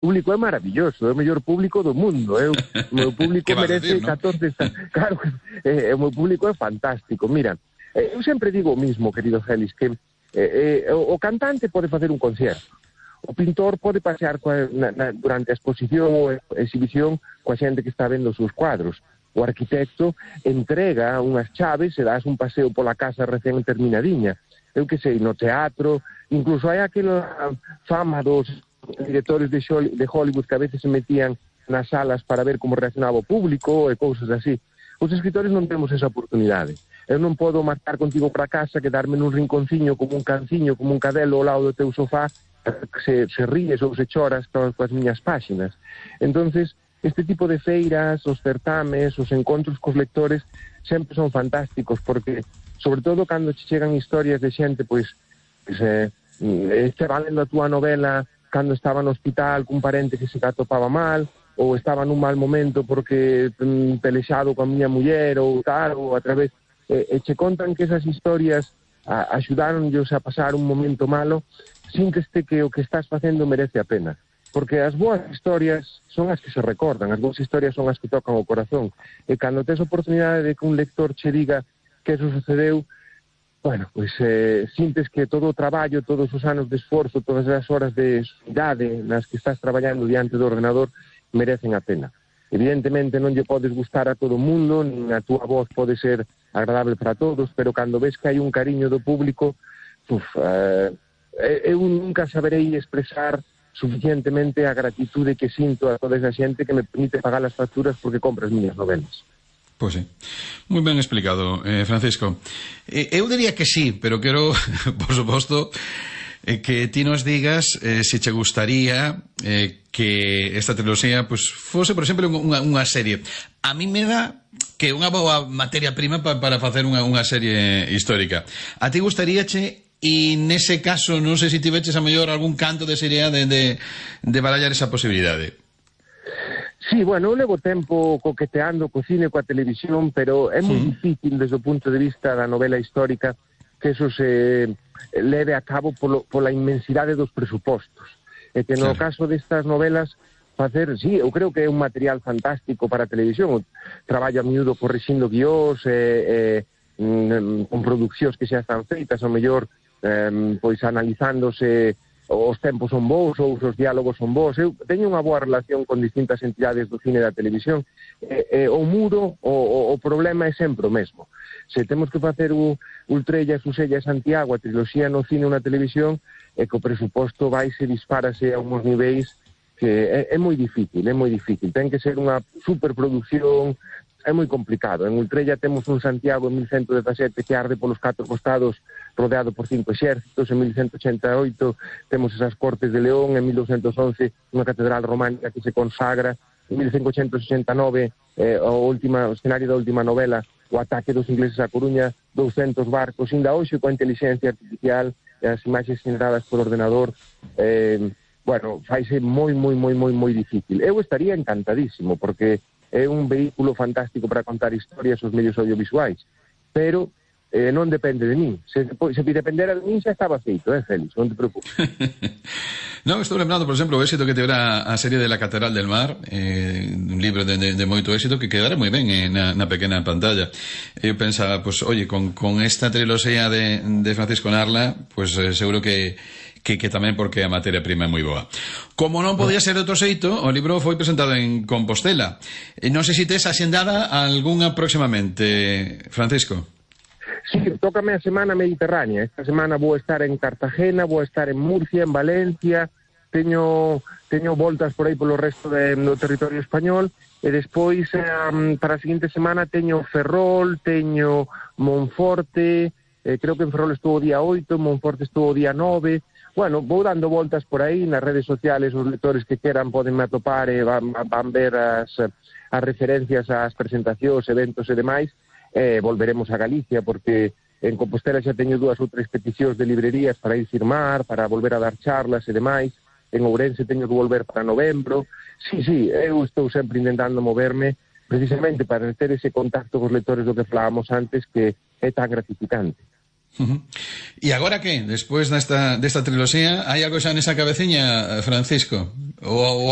público é maravilloso, é o mellor público do mundo, o meu público merece decir, ¿no? 14... Claro, o meu público é fantástico. Mira, eu sempre digo o mismo, querido Félix, que o cantante pode facer un concierto, o pintor pode pasear durante a exposición ou exhibición coa xente que está vendo os seus cuadros. O arquitecto entrega unhas chaves e das un paseo pola casa recén terminadiña. Eu que sei, no teatro, incluso hai aquela fama dos directores de Hollywood que a veces se metían nas salas para ver como reaccionaba o público e cousas así. Os escritores non temos esa oportunidade. Eu non podo marchar contigo para casa, quedarme nun rinconciño como un canciño, como un cadelo ao lado do teu sofá, se ríes ou se choras coas miñas páxinas. Entonces, este tipo de feiras, os certames, os encontros cos lectores sempre son fantásticos, porque, sobre todo, cando che chegan historias de xente, pois valendo a túa novela cando estaba no hospital cun parente que se atopaba mal, ou estaba nun mal momento porque pelexado coa miña muller, ou tal, ou a través... E che contan que esas historias axudáronllos a pasar un momento malo, sínteste que o que estás facendo merece a pena. Porque as boas historias son as que se recordan, as boas historias son as que tocan o corazón. E cando tes a oportunidade de que un lector che diga que eso sucedeu, bueno, pois sintes que todo o traballo, todos os anos de esforzo, todas as horas de idade nas que estás traballando diante do ordenador merecen a pena. Evidentemente non lle podes gustar a todo o mundo, nin a túa voz pode ser agradable para todos, pero cando ves que hai un cariño do público, eu nunca saberei expresar suficientemente a gratitude que sinto a toda esa xente que me permite pagar as facturas porque compra as miñas novelas. Pois sí. Moi ben explicado, Francisco. Eu diría que sí, pero quero, por suposto, que ti nos digas se che gustaría que esta triloxía pues, fose, por exemplo, unha serie. A mí me dá que unha boa materia prima para facer unha serie histórica. A ti gustaríache, e nese caso non sei se tiveches a mellor algún canto de serie de barallar esa posibilidade? Sí, bueno, eu levo tempo coqueteando co cine, coa televisión, pero é moi difícil desde o punto de vista da novela histórica que eso se leve a cabo pola inmensidade dos presupostos. E que no caso destas novelas facer, sí, eu creo que é un material fantástico para a televisión. Traballo a miúdo corrixindo guiós, con produccións que xa están feitas, ao mellor pois analizándose os tempos son bons ou os diálogos son bons. Eu teño unha boa relación con distintas entidades do cine e da televisión. O muro, o problema é sempre o mesmo. Se temos que facer o Ultrella, Susella e Santiago, a triloxía no cine ou na televisión, é que o presuposto vaise, disparase a unhos niveis que é moi difícil, é moi difícil. Ten que ser unha superproducción, é moi complicado. En Ultrella temos un Santiago en 1117 que arde polos 4 costados rodeado por 5 exércitos. En 1188 temos esas Cortes de León. En 1211 unha catedral románica que se consagra. En 1569 o escenario da última novela, o ataque dos ingleses a Coruña, 200 barcos. Inda hoxe coa inteligencia artificial e as imaxes generadas por ordenador, bueno, faise moi difícil. Eu estaría encantadísimo porque é un vehículo fantástico para contar historias os medios audiovisuais, pero non depende de min. Se dependera de min xa estaba feito, Félix, non te preocupes. Non, estou lembrando, por exemplo, o éxito que tevera a serie de La Catedral del Mar, un libro de moito éxito que quedara moi ben na pequena pantalla. Eu pensaba, pues, oye, con esta triloxía de Francisco Narla, pues seguro que tamén porque a materia prima é moi boa. Como non podía ser de outro xeito, o libro foi presentado en Compostela. Non sei se tes axendada algunha próximamente, Francisco. Sí, tócame a Semana Mediterránea. Esta semana vou estar en Cartagena, vou estar en Murcia, en Valencia, teño voltas por aí polo resto do territorio español, e despois para a seguinte semana teño Ferrol, teño Monforte, creo que en Ferrol estuvo o día 8, en Monforte estuvo o día 9. Bueno, vou dando voltas por aí nas redes sociales, os lectores que queran podenme atopar e van ver as referencias ás presentacións, eventos e demais. Volveremos a Galicia porque en Compostela xa teño 2 ou 3 peticións de librerías para ir firmar, para volver a dar charlas e demais. En Ourense teño que volver para novembro. Sí, eu estou sempre intentando moverme precisamente para ter ese contacto cos lectores do que falábamos antes, que é tan gratificante. E agora que? Despois desta triloxía, hai algo xa nesa cabeciña, Francisco? Ou